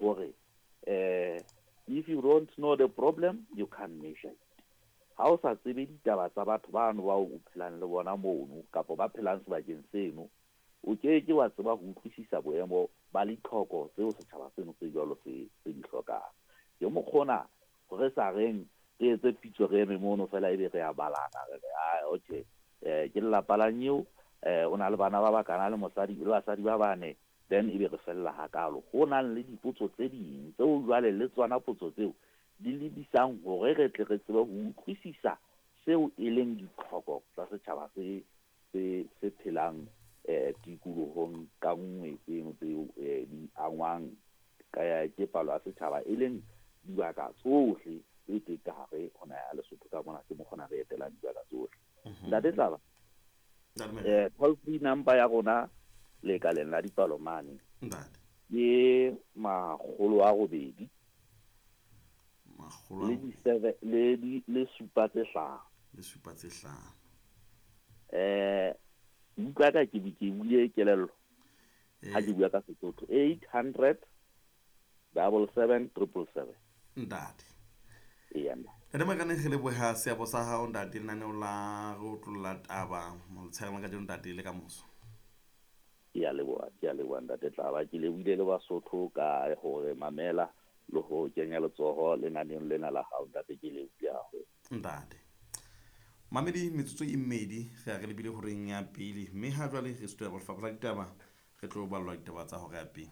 Hore if you don't know the problem, you can't measure it. Ha o sa tsebe ditaba tsa batho bano bao o phelang le bona mono kapa ba phelang sebakeng seno, o ke ke wa tseba ho utlwisisa boemo ba litlhoko tseo setjhaba seno se jwalo se se di hlokang. Ke mokgona re sa reng re etse pitso re eme mono fela ebe re a balana re re ah okay ke lelapa la nyeo o na le bana ba bakana le mosadi le basadi ba bane then ebe re fella hakalo. Ho nang le dipotso tse ding tseo jwale le tsona potso tseo di lebisang hore re tle re tsebe ho utlwisisa seo e leng ditlhoko tsa setjhaba se se se phelang tikolohong ka nngwe tseno tseo di angwang ke palo ya setjhaba e leng dibaka tsohle tse teng ka hare ho naha ya Lesotho ka mona ke mokgona re etelang dibaka tsohle. Ntate Tlaba, toll free number ya rona lekaleng la dipalo mane ke 800 le di seven le di le supa tse hlano. Le supa tse hlano. Utlwa ka ke ke buile kelello ha ke bua ka Sesotho 800 77 777. Ntate. Eya nna. Ntate Makane re leboha seabo sa hao ntate lenaneo la re otlolla taba motshehare la kajeno ntate le ka moso. Ke a leboha, ke a leboha ntate Tlaba. Ke lebohile le Basotho ka hore mamela le ho kenya letsoho lenaneong lena la hao ntate, ke lebohile haholo. Ntate. Mamedi metsotso e mmedi re ya re lebile horeng ya pele mme ha jwale re sutela lefapha la ditaba re tlo ballwa ditaba tsa hora ya pele.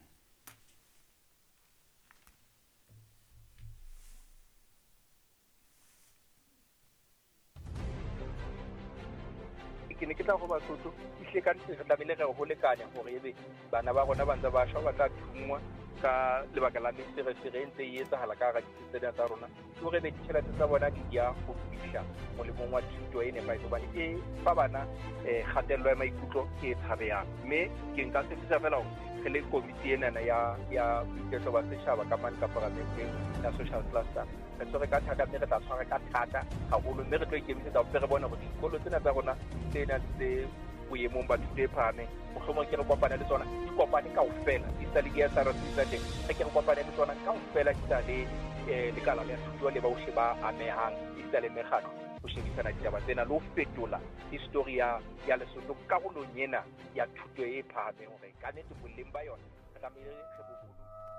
Ke ne ke tla go Basotho ehlile ka nnete re tlamehile re ho lekane hore ebe bana ba rona ba ntse ba shwa ba tla thunngwa ka lebaka la meferefere e ntse e etsahala ka hara ditsi tsena tsa rona ke hore ebe ditjhelete tsa bona di ya ho fihla molemong wa thuto e nepahetseng hobane e fa bana kgatello ya maikutlo e tshabehang. Mme ke nka tshepisa fela hore re le komiti enana ya ya boiketlo ba setjhaba ka mane ka paramenteng ya social cluster re tshwere ka thata mme re tla tshwara ka thata haholo mme re tlo ikemisetsa hore re bone hore dikolo tsena tsa rona tse nang tse boemong ba thuto e phahameng mohlomong ke re kopane le tsona di kopane kaofela di sa le di-S_R_C tsa teng re ke re kopane le tsona kaofela di sa le lekala la thuto le bohle ba amehang esita le mekgatlo ho shebisana ditaba tsena le ho fetola history ya ya Lesotho karolong ena ya thuto e phahameng hore ka nnete boleng ba yona re tlamehile re bo.